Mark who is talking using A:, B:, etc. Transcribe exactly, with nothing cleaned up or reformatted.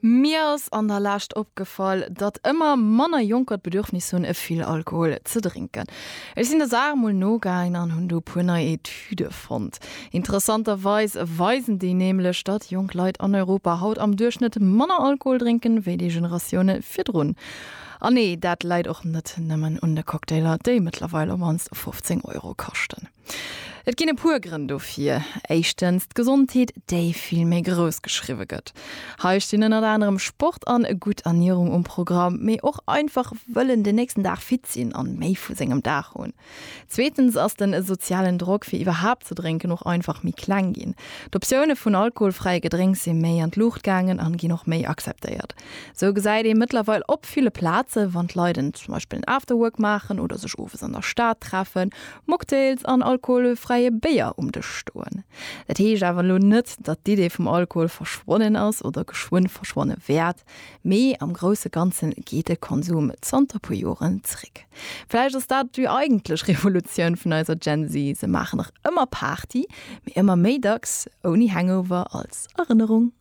A: Mir ass an der Lescht opgefall, datt ëmmer manner Jonker d'Bedürfnis hunn, vill Alkohol ze drénken. Ech sinn der Saach mol nogaangen an hunn do puer nei Etüde fonnt. Interessanterweis weisen déi nämlech, datt jonk Leit an Europa haut am Duerchschnëtt manner Alkohol drénken, wéi déi Generatioune virdrun. An nee, dat läit och net nëmmen un de Cocktailer, déi mëttlerweil op mannst fofzéng Euro kaschten. Et ginn e puer Grënn dofir. Éischtens d'Gesondheet, déi vill méi grouss geschriwwe gëtt. Hei stinn ënnert anerem Sport an gutt Ernierung um Programm, mee och einfach wëllen den nächsten Dag fit sinn an méi vu sengem Dag hunn. Zweetens ass den sozialen Drock fir iwwerhaapt ze drénken och einfach méi kleng ginn. D'Optioune vun alkoholfräie Gedrénks si méi an d'Luucht gaangen an ginn och méi akzeptéiert. Sou gesäit ee mëttlerweil op ville Plaze wann d'Leit en zum Beispill en Afterwork maachen oder sech owes an der Stad treffen, Mocktails an alkoholfräie Béier um Dësch stoen. Dat heescht awer elo net, datt d'Idee vum Alkohol verschwonnen ass oder geschwënn verschwanne wäert, mee am grousse Ganze geet de Konsum zanter puer Joren zréck. Vläicht ass dat déi eigentlech Revolutioun vun eiser Gen Z, se maachen nach ëmmer Party, mee ëmmer méi dacks ouni Hangover als Erënnerung.